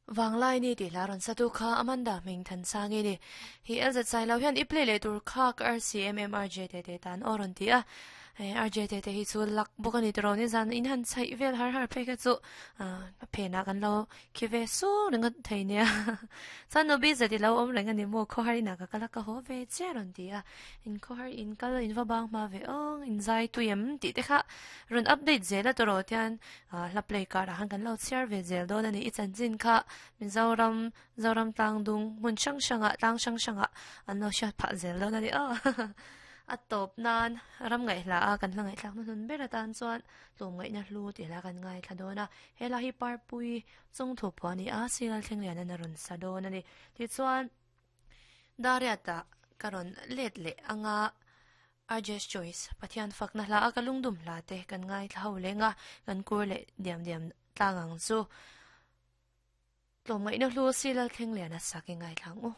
Vanglai ni tih hla rawn sa tu kha Amanda hming Thansangi ni. Hi LZ Sailo hian i play leh tur kha ka RCMMRJ te te tan aw rawn ti a. RJ te te hi chu luck bawk a ni tiraw ni zan in han chhaih vel har har phei kha chu a phenah kan lo khi ve sung ringawt thei nia. Chuan nu BZ i lo awm reng a ni maw khawhar inah ka kal a ka haw ve chiah rawn ti a. In khawhar in kal in va bang hma ve awng in zai tui em tih te kha rawn update zel a tiraw tian Hla play kar ah khan kan lo chhiar ve zel dawn a ni. I chanchin kha Mizoram, Zoram tlang dung hmun hrang hrang ah, tlang hrang hrang ah an lo hriat phah zel dawn a ni aw. A tawp nan ram ngaihhla a kan hla ngaihthlak hnuhnun ber atan chuan tlawmngaihna hlu tih hla kan ngaithla dawn a. He hla hi Parpui chungthu phuah a ni a, Sial thleng lian in a rawn sa dawn a ni. Tichuan Dariat-ah ka rawn let leh anga Arj's Choice, Pathian fakna hla a ka lungdum hla te kan ngaithla ho leng a, kan kur leh diam diam tlang ang chu. Tlawmngaihna hlu Silal Thlengliana sak i ngaithla ang u.